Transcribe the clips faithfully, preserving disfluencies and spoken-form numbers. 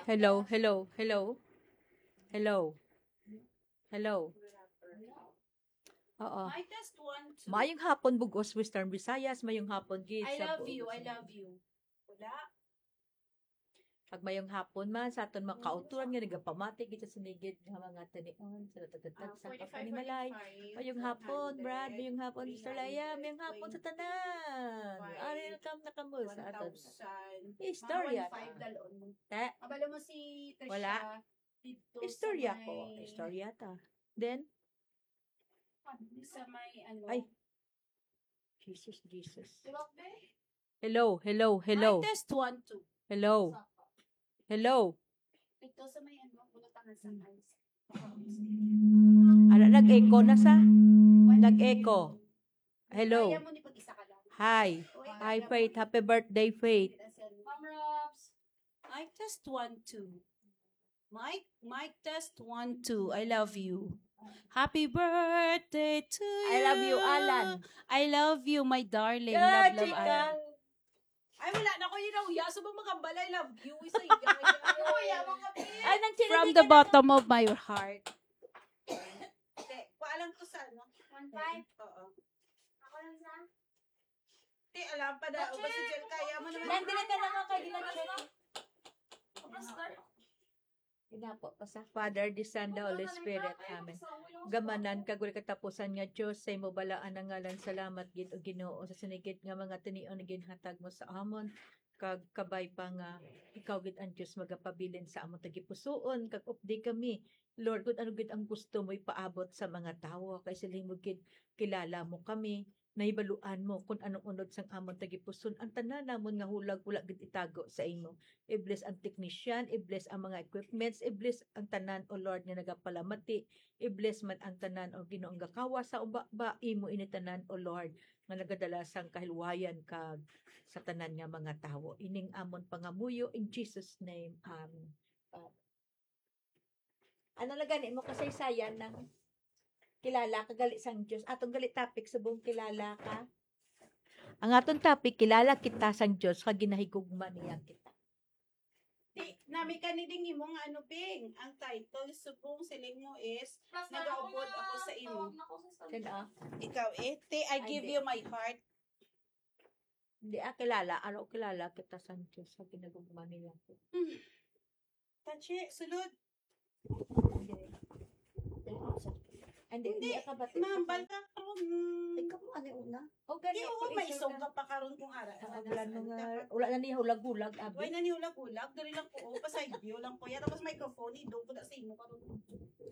Hello, hello, hello. Hello. Hello. Oo. Mic test one, two. Mayong hapon, Bug-os, Western Visayas. Mayong hapon gid I sa love buong you, I Visayas. Love you. Wala. Pag mayong hapon man sa aton mga kauturan nga nagapamati gid sa sinigid nga mga tinion, sa natatagtag Ah, sa forty-five, panimalay. Forty-five, Mayong hapon, Brad. one hundred, Mayong hapon, Sister Leia. Mayong hapon sa tanan. Five, Ari, welcome na kamo sa aton one thousand. Istorya Mga one five ta. Dalon. Te? Kabalo mo si Trisha Wala. Dito sa Istorya ko. May Istorya ta. Then, Sa may ano. Ay. Jesus, Jesus. Di ba, be? Hello, hello, hello. Mic test one, two. Hello. Hello. Ito sa may ano, bulatangan sa Hmm. ice. Ano, nag-echo na sa? Nag-echo. Hello. Kaya mo ni pag-isa ka lang. Hi. Oy, Hi, kaya Faith. mo. Happy birthday, Faith. Ma'am Robs. Mic test one, two. Mic, mic test one, two. I love you. Happy birthday to you. I love you, Alan. I love you, my darling. Yeah, Love, love, chika. Alan. Ay, wala na ko yun, oh, yeah. So, bang magambala, I love you. Isa yung gaya. Ay, nang From the bottom of my heart. Te, paalam ko sa ano? One five. Oo. Ako lang sa? Te, alam pa daw. Ba si Jel, kaya mo naman. Nandito ka na nga kay Dilan Chef. Tapos na. Ginapo pa sa Father, the Son, the Holy Spirit. Amen. Gamanan kag wala katapusan nga Dios, sa imo balaan nga ngalan, salamat gid, O Ginoo, sa sinigid nga mga tinion nga ginhatag mo sa amon, kag kabay pa nga ikaw gid ang Dios magapabilin sa amon tagipusoon, kag updi kami, Lord, kung ano gid ang gusto mo ipaabot sa mga tawo, kay siling mo gid, kilala mo kami, nahibaluan mo kung anong unod sang amon tagipuson. Ang tanan namon nga hulag wala gid itago sa imo. I-bless ang technician, i-bless ang mga equipments, i-bless ang tanan, O Lord, nga nagapalamati, i-bless man ang tanan, O Ginoo, ang gakawas sa ubaba, imo ini tanan, O Lord, nga nagadala sang kahilwayan kag sa tanan nga mga tawo. Ining amon pangamuyo in Jesus' name. Amen. Ano na gani mo kasaysayan ng kilala ka gali sang Dios? Atong gali topic subong kilala ka. Ang aton topic, kilala kita sang Dios kag ginahigugma niya kita. Ti, nami ka ni ding imo nga ano, Bing? Ang title subong siling mo is Nagaupod Ako Sa Imo. Kana? Ikaw eh, Ti, I Ay, Give di. You My Heart. Hindi, ah, kilala. Ano, kilala kita sang Dios kag ginahigugma niya kita. Hmm. Tachi, sulod. Hindi, Hindi, hindi ka ba? Ma'am, balta karon. Ikaw mo, ano una? O, gani, Di, oo, may isog ka pa karon kung ara. Ah, wala na nga, wala na niya hulag-hulag, abi. Wala na niya hulag-hulag. Dali lang ko, oh, pasaylo lang ko. Yan, tapos microphone, idong ko na sa imo karon.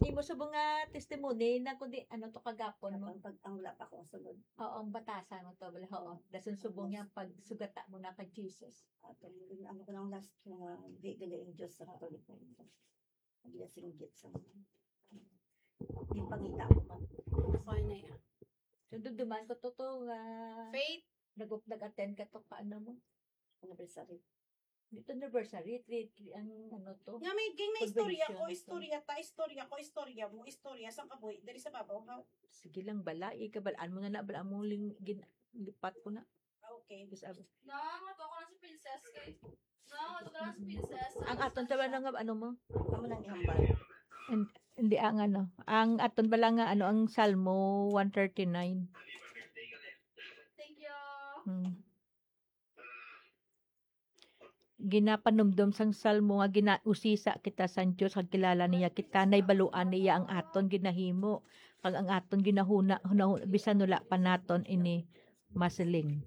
Imo subong nga testimony na kundi ano to kagapon mo. Ang pag-, ang wala pa akong sunod. Oo, ang batasan mo to, bala, oo. Dason subong niya pagsugata mo na kay Jesus. Ato, ano ko nang last nga di gali ang Diyos sa Katoliko. Ang singgit sa mga. Di pangita ko man. Fine na yan. So, duduman ko to, to, nga Faith? nag-, nag-attend ka to ka, ano mo? Anniversary. Dito anniversary, three, three, ang ano to? Nga may, ging may istorya ko, Convention. istorya ta, istorya ko, istorya mo, istorya sa kabuhi, dali sa babaw, ha? Sige lang, bala, ikabalaan mo na na, bala mo ling-, gin-, lipat ko na. Ah, okay. Tapos, ab- Na, mato ko lang si Princess kay. Na, mato ko lang si Princess. Ang aton tawa na nga, ano mo? Amo nang ihambal. And, hindi, ang ano, ang aton bala nga, ano, ang Salmo one thirty-nine. Thank you. Hmm. Ginapanumdom sang Salmo nga ginausisa kita sang Dios, kag kilala niya kita, nahibaluan niya ang aton ginahimo, kag ang aton ginahuna, hunahuna, bisan wala pa naton ini masiling.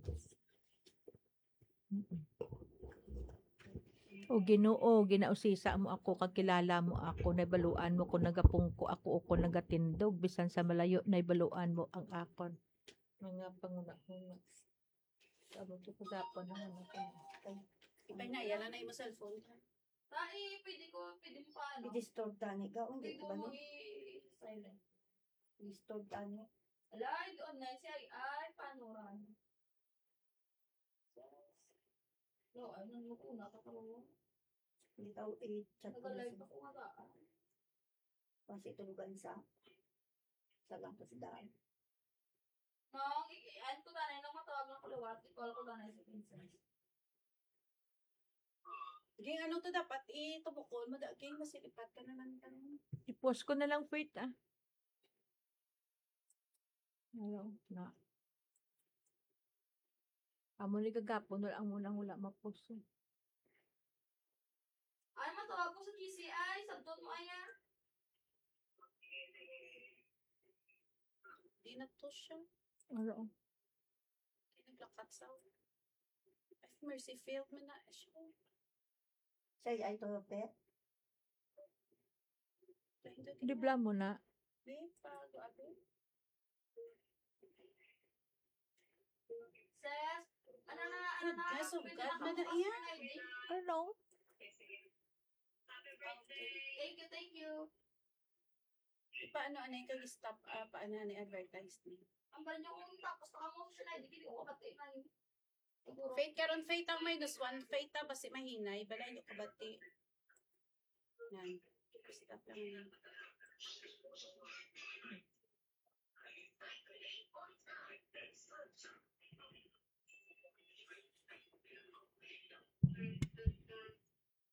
O Ginoo, ginausisa mo ako, kag kilala mo ako, nahibaluan mo kon nagapungko ako o kon nagatindog, bisan sa malayo, nahibaluan mo ang akon mga panghunahuna. Amo to kagapon ang ano ko. Ay, ipay na, yan na imo cellphone. Ay, pwede ko, pwede mo pa, ano? I-disturb tani ka, hindi Pwede ko ba mo ni? i-silent. I-disturb tani. Ala, ay, doon na siya, ay, ay, paano ran? No, ano, ano ko, nakakaroon. Hindi tao, i-chat ko na Nag-live siya. Ako nga ba? Kasi tulugan sa, sa lang kasi daan. Nang, i-, i-, ano ko tanay, nang matawag lang ko liwat, i-call ko tanay si Princess. Ging ano to dapat itubukon mo, da-, ging masilipat ka naman ka. I-post ko na lang, Faith, ah. Ano na? Amo ni gagapon, wala ang munang wala ma-post, eh. Ay, matawa ko sa G C I. Sabton mo, ay, ah. Di na to siya. Ano? Di naglakat sa. Ay, mercy field man na siya. Siya ay to, Pet? Pindot Di bla mo na. Di, pa, abi. Sis, ano na, ano na, Goodness of pwede God, na man na kamo iya. customer I D? Ano? Okay. Thank you, thank you. Paano anay kag stop, ah, paano anay advertise ni? Ang ba nyo kung tapos na kamo sa I D, hindi ko kapatid na yun. Siguro. Faith, karon Faith ang minus one. Faith ta, basi mahinay. Balay, di ko bati. Yan. Stop lang yan.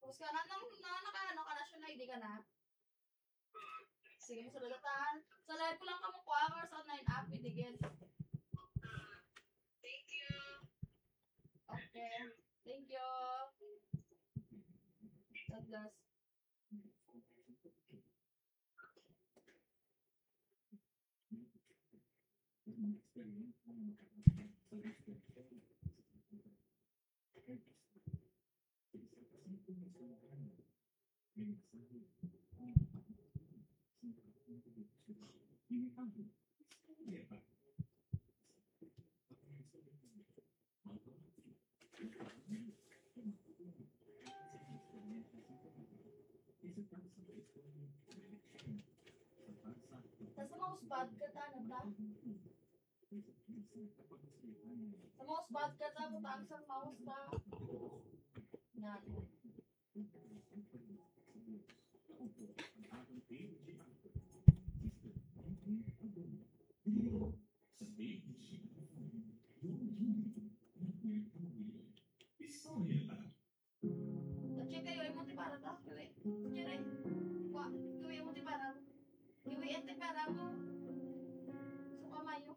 Tapos ka na, nang, nang nakaano ka na siya, na hindi ka na. Sige, masulagatan. Sa live ko lang kamo kuha, or sa online app, idigit. Thank you. Okay. Thank you. God bless. Tapos mausbad ka, ta, ano ta? Sa mausbad ka, ta, butang sa maus ta. Yan. Check kayo, imo ti para ta? Kiwi. Kire. Wa, kiwi mo ti para. Kiwi ang ti para mo. Suka mayo.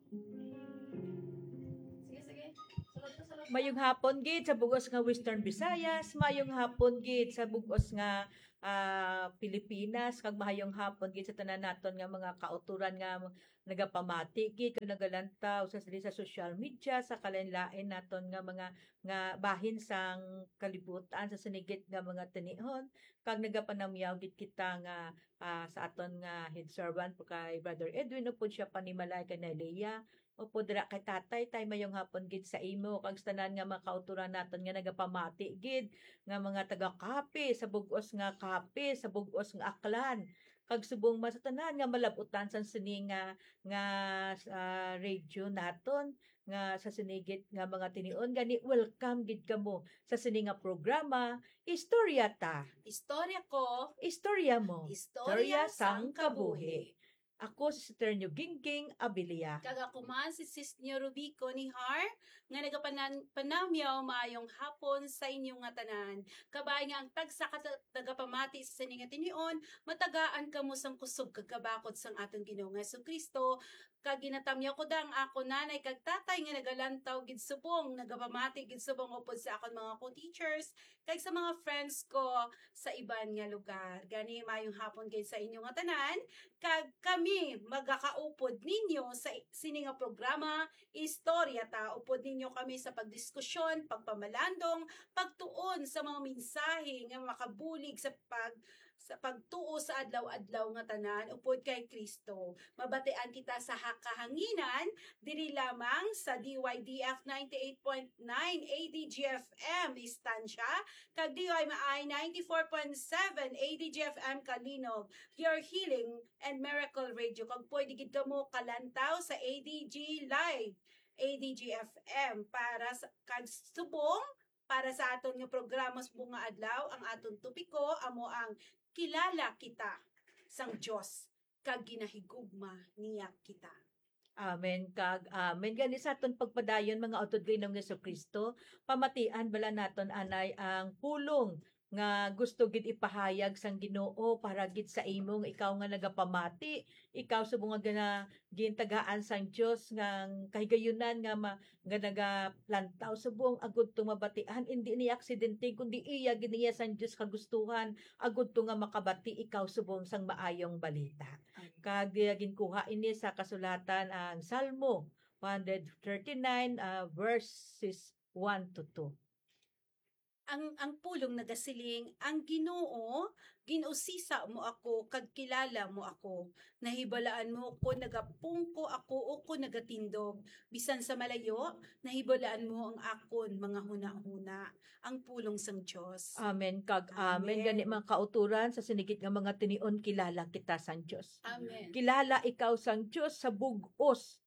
Sige, sige. Sulod ka, sulod ka. Mayong hapon gid sa bugos nga Western Visayas, mayong hapon gid sa bugos nga ah, Pilipinas, kag mahayong hapon gid sa tanan naton nga mga kauturan nga nagapamati gid kag nagalantaw sa, sa social media, sa kalain-lain naton nga mga nga bahin sang kalibutan, sa sinigit nga mga tinion, kag nagapanamyaw gid kita nga, ah, sa aton nga head servant po kay Brother Edwin, upod siya panimalay kay Nelia, upod dira kay Tatay, Tay, mayong hapon gid sa imo, kag sa tanan nga mga kauturan naton nga nagapamati gid, nga mga taga-Capiz, sa bug-os nga Capiz, sa bug-os nga Aklan, kag subong man sa tanan nga malab-utan sang sini nga, nga, ah, radio naton, nga sa sinigit nga mga tinion, gani welcome gid kamo sa sini nga programa, Istorya Ta, Istorya ko, Istorya Mo, istorya sang kabuhi. Ako si Sister Nyo Gingging Abilia. Kag ako man si Sis Nyo Rubico ni Har, nga nagapanan-, panamyaw maayong hapon sa inyo nga tanan. Kabay nga ang tagsa ka ta-, tagapamati sa sini nga tinion, matagaan kamo sang kusog kag kabakod sang aton Ginoo nga Jesu-Cristo, kag ginatamyaw ko da ang akon nanay kag tatay nga nagalantaw gid subong, nagapamati gid subong upod sa akon mga co-teachers, kag sa mga friends ko sa iban nga lugar. Gani, mayong hapon gid sa inyo nga tanan, kag kami magakaupod ninyo sa i-, sini nga programa, Istorya Ta. Upod ninyo kami sa pagdiskusyon, pagpamalandong, pagtuon sa mga mensahe nga makabulig sa pag-, sa pagtuo sa adlaw-adlaw nga tanan upod kay Kristo. Mabatian kita sa ha-, kahanginan diri lamang sa D Y D F ninety-eight point nine A D G F M Estancia, kag D Y M I ninety-four point seven A D G F M Calinog, your healing and miracle radio. Kag pwede gid kamo kalantaw sa A D G Live, A D G F M para sa, kag subong para sa aton nga programa subong nga adlaw, ang aton topiko amo ang Kilala Kita sang Dios kag Ginahigugma Niya Kita. Amen kag amen. Gani sa aton pagpadayon, mga utod kay Ginoong Jesu-Cristo, pamatian bala naton anay ang pulong nga gusto gid ipahayag sang Ginoo para gid sa imo, nga ikaw nga nagapamati, ikaw subong nga gina-, gintagaan sang Dios nga kahigayunan nga ma-, nga nagalantaw subong agud to mabatian, indi ni aksidente, kundi iya gid niya sang Dios kagustuhan agud to nga makabati ikaw subong sang maayong balita. Amen. Kag, ah, ginkuha ini sa kasulatan ang Salmo one hundred thirty-nine, ah, verses one to two. Ang, ang pulong nagasiling, "Ang Ginoo, gin-usisa mo ako, kag kilala mo ako. Nahibalaan mo kon nagapungko ako o kon nagatindog. Bisan sa malayo, nahibalaan mo ang akon mga hunahuna." Ang pulong sang Dios. Amen kag amen. Amen. Gani, mga kauturan, sa sinigit nga mga tinion, kilala kita sang Dios. Amen. Kilala ikaw sang Dios sa bug-os.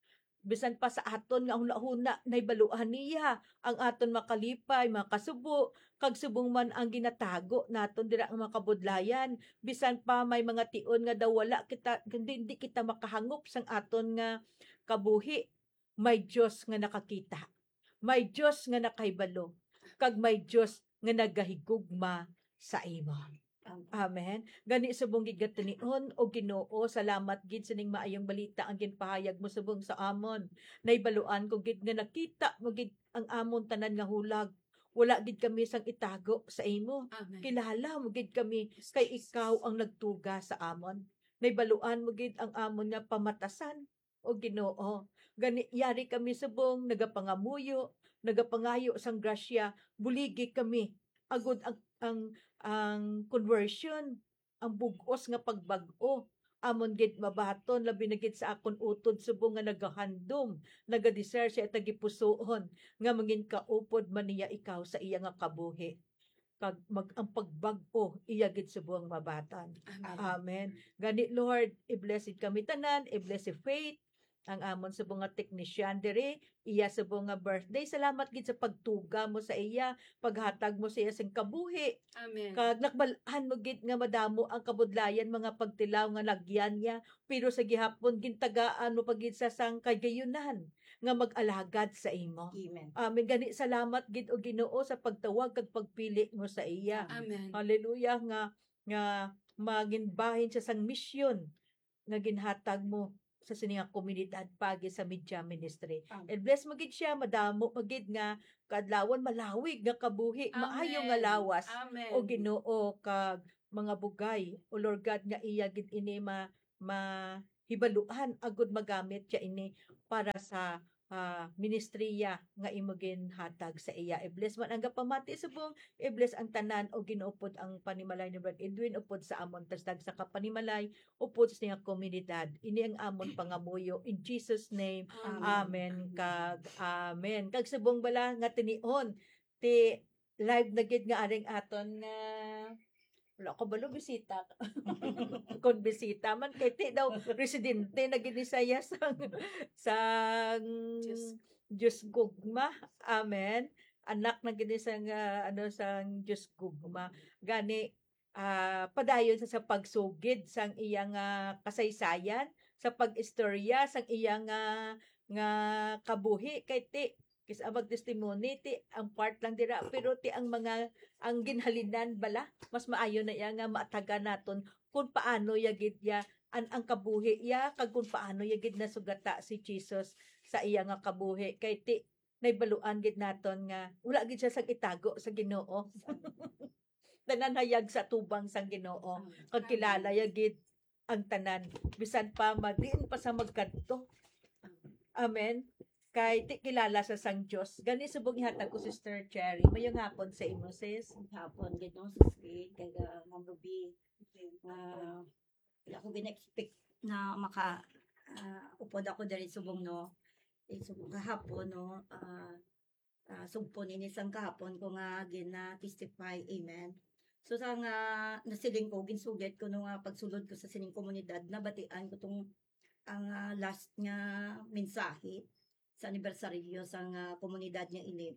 Bisan pa sa aton nga hunahuna, nahibaluan niya ang aton makalipay, makasubo, kag subong man ang ginatago naton dira nga mga kabudlayan. Bisan pa may mga tion nga daw wala kita, hindi, hindi kita makahangop sang aton nga kabuhi, may Dios nga nakakita, may Dios nga nakahibalo, kag may Dios nga nagahigugma sa imo. Amen. Amen. Gani, subong gid nga tinion, O Ginoo, salamat gid sining maayong balita ang ginpahayag mo subong sa amon. Nahibaluan ko gid nga nakita mo gid ang amon tanan nga hulag. Wala gid kami sang itago sa imo. Amen. Kilala mo gid kami, kay Jesus, ikaw ang nagtuga sa amon. Nahibaluan mo gid ang amon nga pamatasan, O Ginoo. Gani, yari kami subong nagapangamuyo, nagapangayo sang grasya, buligi kami. Agud ang, ang, ang conversion, ang bug-os nga pagbag-o, amon gid mabaton, labi na gid sa akon utod subong nga nagahandom, nagadesear sa tagipusoon, nga mangin kaupod man niya ikaw sa iya nga kabuhi. Kag mag-, ang pagbag-o, iya gid subong mabaton. Amen. Amen. Gani, Lord, i-bless gid kami tanan, i-bless si Faith, ang amon subong nga technician diri, iya subong nga birthday. Salamat gid sa pagtuga mo sa iya, paghatag mo sa iya sing kabuhi. Amen. Kag nakabal-an mo gid nga madamo ang kabudlayan, mga pagtilaw nga lagyan niya, pero sa gihapon gintagaan mo pa gid sa sang kagayunan nga mag-alagad sa imo. Amen. Amen. Gani, salamat gid, O Ginoo, sa pagtawag kag pagpili mo sa iya. Amen. Hallelujah, nga, nga magin bahin siya sang misyon nga ginhatag mo sa sini nga komunidad pagi sa media ministry. Amen. I-bless mo gid siya, madamo pa gid nga kaadlawan, malawig nga kabuhi, maayo nga lawas. Amen. O Ginoo, kag mga bugay, O Lord God, nga iya gid ini ma-, mahibaluan, agud magamit siya ini para sa, ah, ministriya nga imo ginhatag sa iya. I-bless man ang gapamati subong, i-bless ang tanan, O Ginoo, upod ang panimalay ni Brad Edwin, upod sa amon tagsa ka panimalay, upod sa iya komunidad. Ini ang amon pangamuyo. In Jesus' name, amen. Amen kag amen. Kag subong bala nga tinion, ti live na gid nga aring aton nga, wala ko balo bisita. Kon bisita man, kay ti daw residente na gid ni siya sang, sang Diyos. Diyos gugma. Amen. Anak na gid ni sang, ah, ano, sang Diyos gugma. Gani, ah, padayon sa, sa pagsugid sang iyang, ah, kasaysayan, sa pag-istorya sang iyang, ah, nga kabuhi, kay ti, kis-a mag-testimony, ti ang part lang dira, pero ti ang mga, ang ginhalinan bala, mas maayo na iya nga maatagan naton kung paano ya gid ya, an-, ang kabuhi ya, kag kung paano ya gid nasugata si Jesus sa iya nga kabuhi. Kay ti, nahibaluan gid naton nga wala gid siya sang itago sa Ginoo. Tanan hayag sa tubang sang Ginoo. Amen. Kag kilala ya gid ang tanan, bisan pa ma-, diin pa sa magkadto. Amen. Kay ti kilala sa sang Dios. Gani subong ihatag ko, Sister Cherry. Mayong hapon sa imo, sis. Mayong hapon gid, no, Sis Faith, kag, ah, Ma'am Ruby. Ah, wala ko gina-expect na maka, ah, upod ako diri subong, no. Eh, subong kahapon, no, ah, ah, sugpon ini sang kahapon ko nga gina-testify. Amen. So, sa nga nasiling ko, ginsugid ko no nga pagsulod ko sa sining komunidad, nabatian ko tong ang, ah, last nga mensahe sa anibersaryo sang, ah, komunidad nga ini,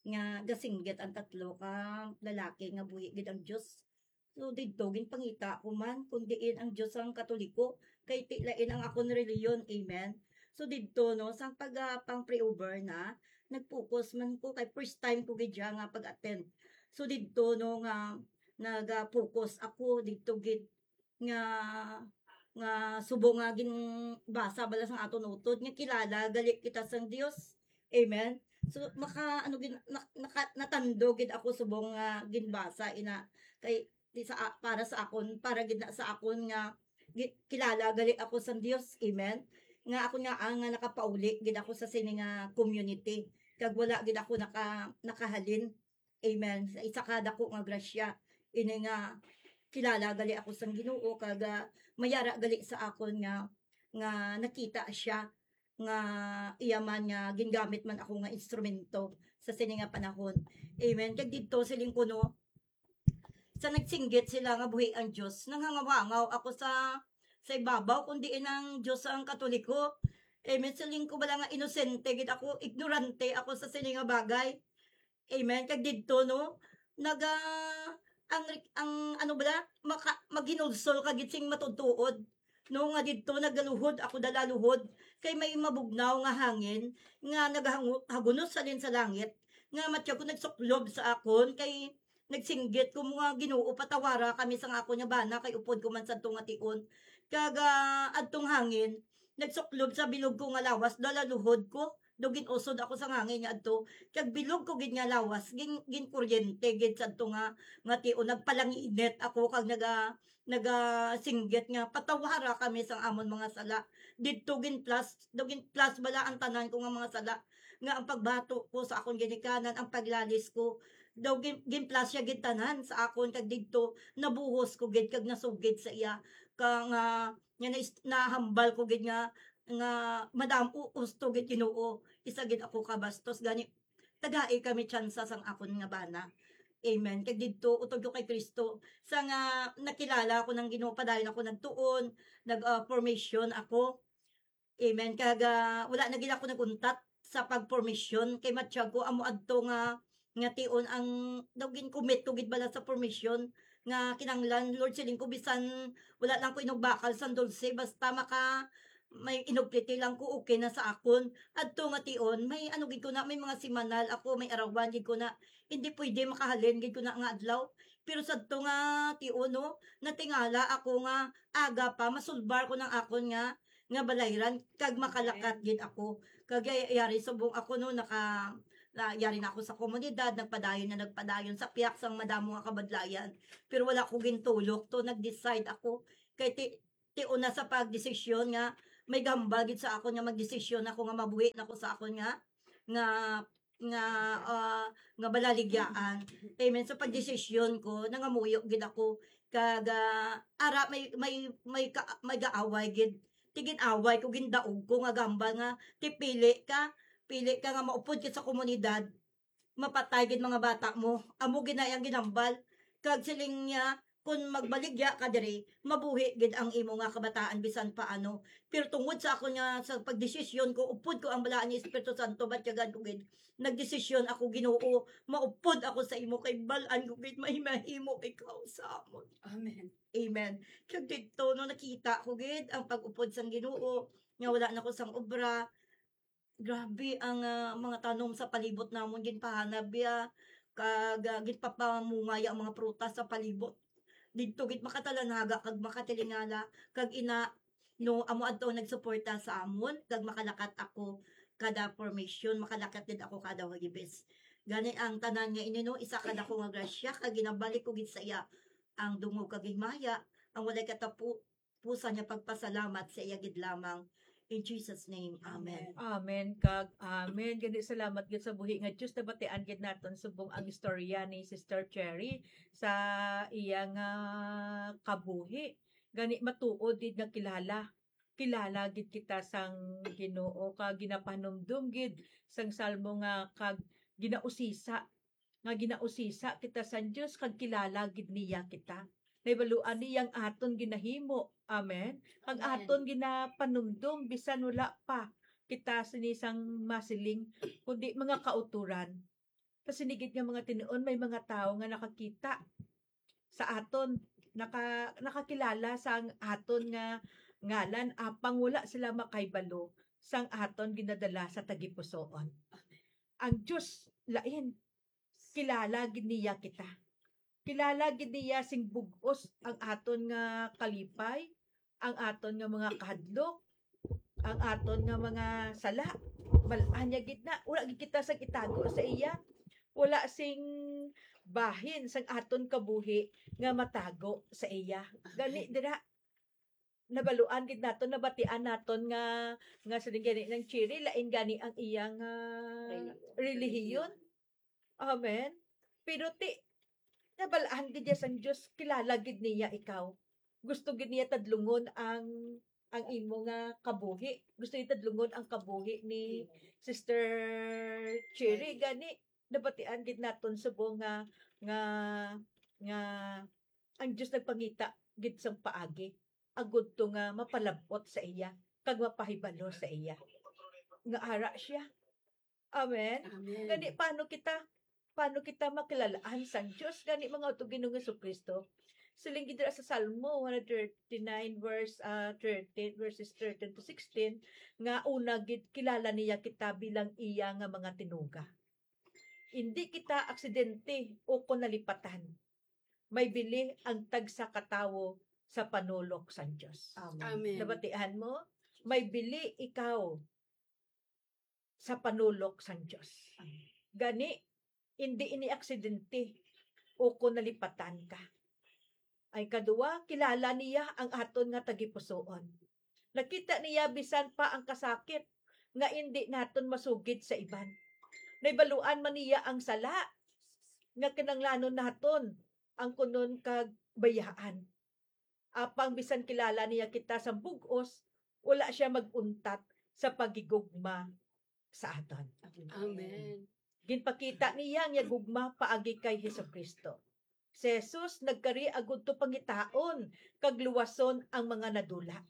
nga gasinggit ang tatlo ka lalaki nga buhi gid ang Dios. So, didto ginpangita ko man kon diin ang Dios ang Katoliko, kay ti lain ang akon relihiyon. Amen. So, didto, no, sang pag, ah, pang pre-over na, nag-focus man ko kay first time ko gid siya nga pag-attend. So, didto, no, nga naga-focus ako didto gid nga, nga subong nga ginbasa bala sang aton utod nga kilala gali kita sang Dios. Amen. So, maka-, ano gid, na-, naka-, natando gid ako subong nga ginbasa ina kay di sa a-, para sa akon, para gid na sa akon nga gi-, kilala gali ako sang Dios. Amen. Nga ako nga, ah, nga nakapauli gid ako sa sini nga community. Kag wala gid ako naka-, nakahalin. Amen. Sa isa ka dako nga grasya, ini nga kilala gali ako sang Ginoo, kag, ah, mayara gali sa akon nga, nga nakita siya nga iya man nga gingamit man ako nga instrumento sa sini nga panahon. Amen. Kag didto, siling ko, no, sa nagsinggit sila nga buhi ang Dios, nanghangaw-hangaw ako sa, sa ibabaw, kung diin ang Dios ang Katoliko. Amen. Siling ko bala nga inosente gid ako, ignorante ako sa sini nga bagay. Amen. Kag didto, no, naga-, ang, ang, ano bala, maka-, maghinulsol ka gid sing matutuod, no, nga didto nagaluhod ako dala luhod, kay may mabugnaw nga hangin nga nagahangu-, hagunos halin sa langit, nga matya ko nagsuklob sa akon, kay nagsinggit ko, mga Ginoo, patawara kami sang akon nga bana, kay upod ko man sadto nga tion. Kag, ah, adtong hangin nagsuklob sa bilog ko nga lawas, dala luhod ko, daw gin-usod ako sang hangin nga adto. Kag bilog ko gid nga lawas, gin-, ginkuryente gid sadto nga, nga tion. Nagpalanginit ako kag naga-, nagasinggit nga, "Patawara kami sang amon mga sala." Didto gin-plus, daw gin-plus bala ang tanan ko nga mga sala, nga ang pagbato ko sa akon ginikanan, ang paglalis ko, daw gin-, gin-plus siya gid tanan sa akon, kag didto nabuhos ko gid kag nasugid sa iya, ka nga, nga nais-, nahambal ko gid nga, nga madamo, husto gid, Ginoo, isa gid ako ka bastos, gani tagai kami tsansa sang akon nga bana. Amen. Kag didto, utod ko kay Cristo, sa nga nakilala ko ng Ginoo, padayon ako nagtuon, nag, ah, formation ako. Amen. Kag, ah, wala na gid ako nag-untat sa pag-formation, kay matsyag ko amo adto nga, nga tion ang daw gin-commit ko gid bala sa formation nga kinahanglan, Lord, siling ko, bisan wala lang ko inugbakal sang dulce, basta maka may inugpiti lang ko, okay na sa akon. Adto nga tion, may ano gid ko na, may mga simanal ako, may arawan gid ko na, hindi pwede makahalin gid ko na nga adlaw. Pero sadto nga tion, no, natingala ako nga aga pa, masulbar ko ng akon nga, nga balayran, kag makalakat gid ako. Kag yari subong ako, no, naka, na, yari na ako sa komunidad, nagpadayon na nagpadayon sa piyak sang madamo nga kabadlayan. Pero wala ko gintulok to, nag-decide ako. Kay ti-, ti una sa pagdesisyon nga may gambal gid sa akon nga magdesisyon ako nga mabuhi na ko sa akon nga, nga, nga, ah, nga balaligyaan. Amen. Sa pagdesisyon ko, nangamuyo gid ako kag, ah, ara may, may, may ka-, may gaaway gid. Ti gin-away ko, gindaog ko nga gambal nga ti pili ka, pili ka nga maupod ka sa komunidad, mapatay gid mga bata mo. Amo gid na iyang ginambal. Kag siling niya, kun magbaligya ka diri, mabuhi gid ang imo nga kabataan bisan paano. Pero tungod sa ako nga, sa pagdesisyon ko, upod ko ang balaan ni Espiritu Santo, batyagan ko gid. Nagdesisyon ako, Ginoo, maupod ako sa imo, kay bal-an ko gid may mahimo ikaw sa amon. Amen. Amen. Kag didto, no, nakita ko gid ang pag-upod sang Ginoo, nga wala na ko sang obra. Grabe ang, ah, mga tanom sa palibot namon, ginpahanab ya, kag, ah, ginpapamungay ang mga prutas sa palibot. Didto gid makatalanaga kag makatilingala, kag ina, no, amo adto nagsuporta sa amon, kag makalakat ako kada formation, makalakat gid ako kada Huwebes. Gani ang tanan nga ini, no, isa ka dako nga grasya, kag ginabalik ko gid sa iya ang dungog kag himaya, ang walay katapo-, pusan nga pagpasalamat sa iya gid lamang. In Jesus' name, amen. Amen. Kag amen. Gani, salamat gid sa buhi nga Dios. Nabatian gid naton subong ang istorya ni Sister Cherry sa iya nga kabuhi. Gani, matuod gid nga kilala. Kilala gid kita sang Ginoo, kag ginapahanumdom gid sang Salmo nga, kag ginausisa nga ginausisa kita sang Dios, kag kilala gid niya kita. Nahibaluan niya ang aton ginahimo. Amen. Kag Amen. Aton ginapanumdom bisan wala pa kita sini sang masiling, kundi mga kauturan. Sa sini gid nga mga tinuon, may mga tawo nga nakakita sa aton, naka-, nakakilala sang aton nga ngalan, apang wala sila makahibalo sang aton ginadala sa tagipusoon. Ang Dios lain, kilala gid niya kita. Kilala gid niya sing bug-os ang aton nga kalipay, ang aton nga mga kahadlok, ang aton nga mga sala. Bal-an niya gid na. Wala gid kita sang itago sa iya. Wala sing bahin sang aton kabuhi nga matago sa iya. Gani dira, nabaluan gid naton, nabatian naton nga, nga siling gani nang Cherry, lain gani ang iyang, ah, relihiyon. Amen. Pero ti, nabalaan gid niya sang Dios, kilala gid niya ikaw. Gusto gid niya tadlungon ang, ang imo nga kabuhi. Gusto niya tadlungon ang kabuhi ni Sister Cherry. Gani, nabatian gid naton subong nga, nga, nga ang Dios nagpangita gid sang paagi agud to nga mapalab-ot sa iya kag mapahibalo sa iya nga ara siya. Amen. Amen. Gani, paano kita, paano kita makilalaan sang Dios? Gani, mga utod Ginoong Jesu-Cristo, siling gid dira sa Salmo one thirty-nine, verse, ah, thirteen, verses thirteen to sixteen, nga una gid kilala niya kita bilang iya nga mga tinuga. Indi kita aksidente o kon nalipatan. May bili ang tagsa ka tawo sa panulok sang Dios. Amen. Amen. Nabatian mo? May bili ikaw sa panulok sang Dios. Amen. Gani, indi ini aksidente o kon nalipatan ka. Ay kadua, kilala niya ang aton nga tagipusoon. Nakita niya bisan pa ang kasakit nga indi naton masugid sa iban. Nahibaluan man niya ang sala nga kinahanglanon naton ang kunon kag bayaan. Apang bisan kilala niya kita sa bug-os, wala siya mag-untat sa paghigugma sa aton. Amen. Ginpakita niya ang iya gugma paagi kay Jesu-Cristo. Si Jesus nagkari agud to pangitaon kag luwason ang mga nadula.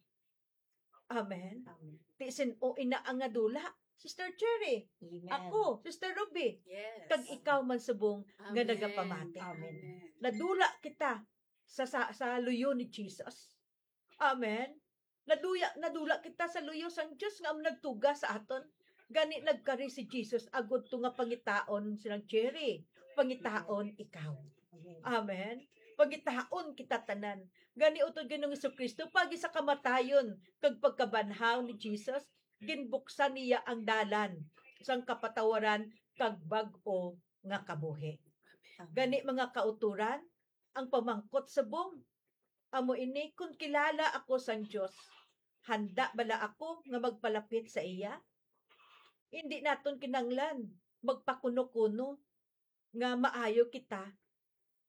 Amen. Amen. Ti sin-o ina ang nadula? Sister Cherry, Amen. Ako, Sister Ruby, Yes. Kag ikaw man subong nga Amen. Nagapamati. Amen. Amen. Nadula kita sa, sa, sa luyo ni Jesus. Amen. Naduya, nadula kita sa luyo sang Dios nga nagtuga sa aton. Gani nagkari si Jesus agud to nga pangitaon silang Cherry, pangitaon ikaw. Amen. Amen. Pangitaon kita tanan. Gani utod Ginoong Jesu-Cristo, pagi sa kamatayon kag pagkabanhaw ni Jesus, ginbuksan niya ang dalan sang kapatawaran kag bag-o nga kabuhi. Amen. Gani, mga kauturan, ang pamangkot subong amo ini, kon kilala ako sang Dios, handa bala ako nga magpalapit sa iya? Hindi naton kinanglan magpakuno-kuno nga maayo kita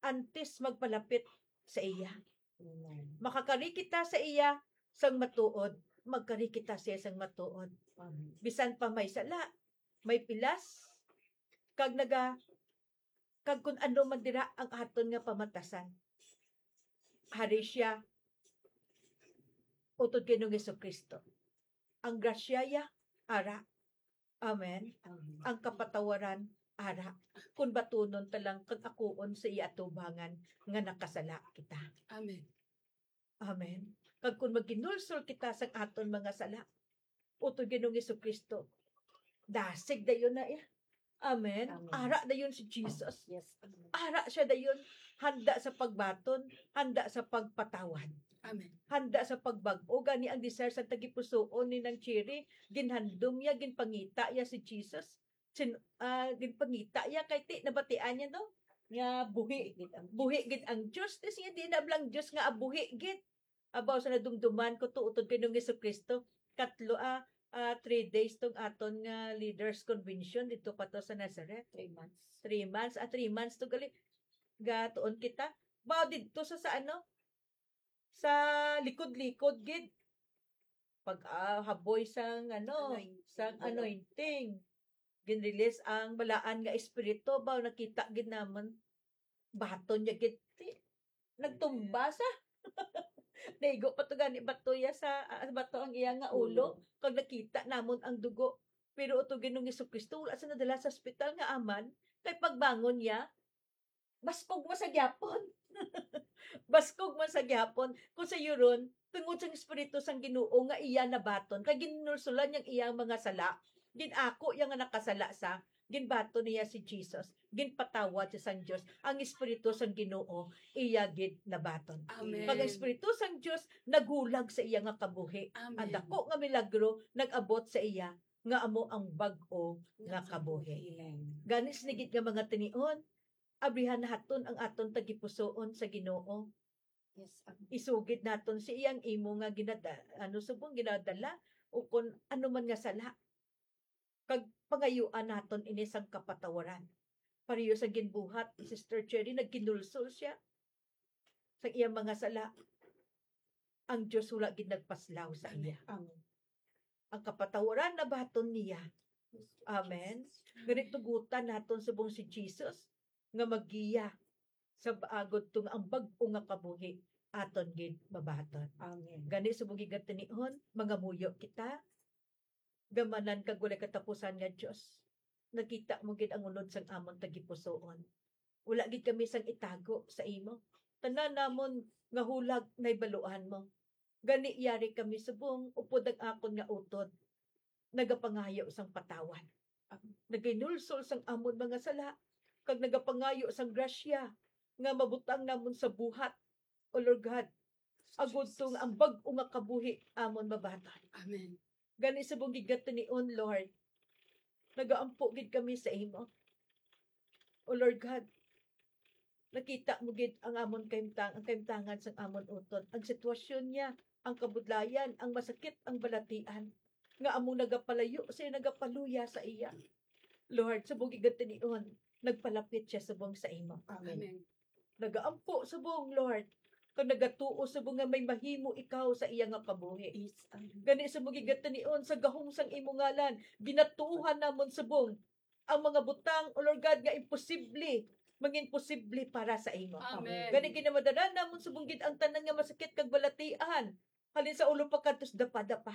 antes magpalapit sa iya. Amen. Makakari kita sa iya sang matuod, magkari kita sa iya sang matuod. Amen. Bisan pa may sala, may pilas, kag naga-, kag kun ano man dira ang aton nga pamatasan. Hari siya, utod kay Ginoong Jesu-Cristo. Ang grasya ya, ara. Amen. Amen. Ang kapatawaran, ara. Kun batunon ta lang kag akuon sa iya atubangan nga nakasala kita. Amen. Amen. Kag kun maghinulsol kita sa aton mga sala, utod Ginoong Jesu-Cristo, dasig dayon na iya. Amen. Amen. Ara dayon si Jesus. Yes. Ara siya dayon, handa sa pagbaton, handa sa pagpatawad. Amen. Handa sa pagbag-o. Gani ang desire sa tagipusoon ni Nang Cherry, ginhandom niya, ginpangita niya si Jesus. Sin-, ah, ginpangita niya kay ti, nabatian niya, no? Nga buhi, buhi gid ang Dios. Ti siya, di na bala ang Dios nga abuhi gid. Abaw sa nadumduman ko to, utod kay Ginoong Jesu-Cristo, katlo, ah, ah, three days tong aton nga leaders convention dito pa to sa Nazareth. Three months. Three months, ah, three months to gali. Gatuon kita. Baw didto sa, sa ano? Sa likod-likod gid. Pag, ah, haboy sang ano, Anointing. Sang anointing. Ginrelease ang balaan nga espiritu, baw nakita gid namon. Baton niya gid. Ti-, nagtumba sa. Naigo pa to gani bato ya sa, ah, bato ang iya nga ulo. Ulo. Kag nakita namon ang dugo. Pero utod Ginoong Jesu-Cristo, wala sa nadala sa ospital nga aman. Kay pagbangon niya, baskog man sa gyapon. Baskog man sa gyapon. Kung sa yuron, tungod sa Espiritu sang Ginoo nga iya nabaton, kay ginulsulan niyang iyang mga sala, gin-ako iya nga nakasala sa, Ginbaton niya si Jesus, ginpatawad siya sang Dios. Ang Espiritu sang Ginoo iya gid nabaton. Amen. Kag ang Espiritu sang Dios naghulag sa iya nga kabuhi. Amen. Ang dako nga milagro nag-abot sa iya, nga amo ang bag-o nga kabuhi. Amen. Gani sini gid nga mga tinion, abrihan naton ang aton tagipusoon sa Ginoo. Yes, Amen. Isugid naton sa iya ang imo nga ginada-, ano, subong ginadala, o kon ano man nga sala. Kag pangayuan naton ini sang kapatawaran. Pareho sa ginbuhat ni Sister Cherry, nagkinulsol siya sa iyang mga sala. Ang Dios wala gid nagpaslaw sa iya. Amen. Ang kapatawaran nabaton niya. Amen. Gani tugutan naton subong si Jesus nga maggiya sa agod to nga ang bag-o nga kabuhi aton gid mabaton. Amen. Gani subong gid nga tinion, mangamuyo kita, gamanan kag walay katapusan nga Dios. Nakita mo gid ang unod sang amon tagipusoon. Wala gid kami sang itago sa imo. Tanan namon nga hulag nahibaluan mo. Gani yari kami subong upod ang akon nga utod nagapangayo sang patawad. Naginulsol sang amon mga sala, kag nagapangayo sang grasya nga mabutang namon sa buhat, O Lord God, agod to nga ang bag-o nga kabuhi amon mabaton. Amen. Gani subong gid nga tinion, Lord, nagaampo gid kami sa imo. O Lord God, nakita mo gid ang amon kahimtang, ang kahimtangan sang amon utod, ang sitwasyon niya, ang kabudlayan, ang masakit, ang balatian, nga amo nagapalayo sa iya, nagapaluya sa iya. Lord, subong gid nga tinion, nagpalapit siya subong sa imo. Amen. Amen. Nagaampo subong, Lord, kag nagatuo subong nga may mahimo ikaw sa iya nga kabuhi. Yes, Amen. Gani subong gid nga tinion, sa gahom sang imo ngalan, ginatuohan namon subong ang mga butang, O Lord God, nga imposible, mangin posible para sa imo. Amen. Gani ginamadala namon subong gid ang tanan nga masakit kag balatian, halin sa ulo pakadto sa dapadapa.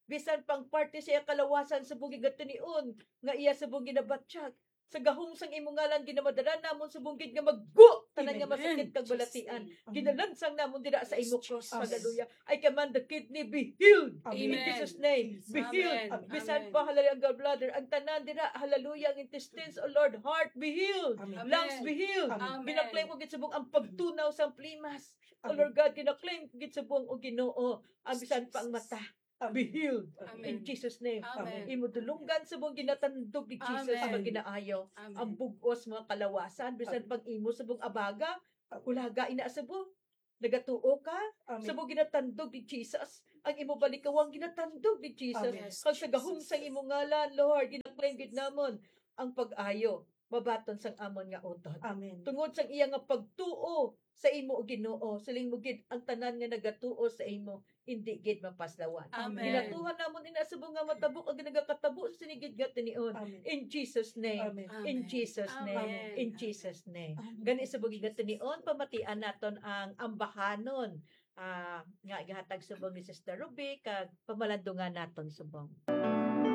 Bisan pa ang parte sa iya kalawasan subong gid nga tinion nga iya subong ginabatyag. Sa gahom sang imo ngalan, ginamadala namon subong gid nga maggo tanan nga Amen. Masakit kag Yes. balatian. Amen. Ginalansang namon dira sa imo Yes, cross. Jesus. Hallelujah. I command the kidney be healed. Amen. In Amen. Jesus' name, be Amen. healed. Amen. Bisan Amen. pa, hallelujah, ang gallbladder, ang tanan dira, hallelujah, ang intestines, oh Lord, heart, be healed. Amen. Lungs, be healed. Amen. Ginaklaim ko gid subong ang pagtunaw sang plimas. Oh Amen. Lord God, ginaklaim ko gid subong, oh Ginoo, ang bisan pa ang mata. Amen. Be healed. Amen. In Jesus' name. Amen. Imo dulonggan subong ginatandog ni Jesus Amen. Ang ginaayo. Amen. Ang bug-os mga kalawasan, bisan Amen. Pang imo subong abaga, ulaga ina subong. Nagatuo ka? Amen. Subong ginatandog ni Jesus. Ang imo balikawang ginatandog ni Jesus. Amen. Kag sa gahom sa imo ngalan, Lord, ginaklaim gid namon ang pag-ayo mabaton sang amon nga utod. Amen. Tungod sang iya nga pagtuo sa imo, O Ginoo, siling mo gid, ang tanan nga nagatuo sa imo, hindi gid mapaslawan. Amen. Ginatuohan namon ina subong nga matabo ang nagakatabo sa sini gid nga tinion. Amen. In Jesus' name. Amen. In Amen. Jesus' name. Amen. In Jesus' name. Amen. Gani subong gid nga tinion, pamatian naton ang ambahanon, ah, nga gihatag subong ni Sister Ruby, kag pamalandungan naton subong.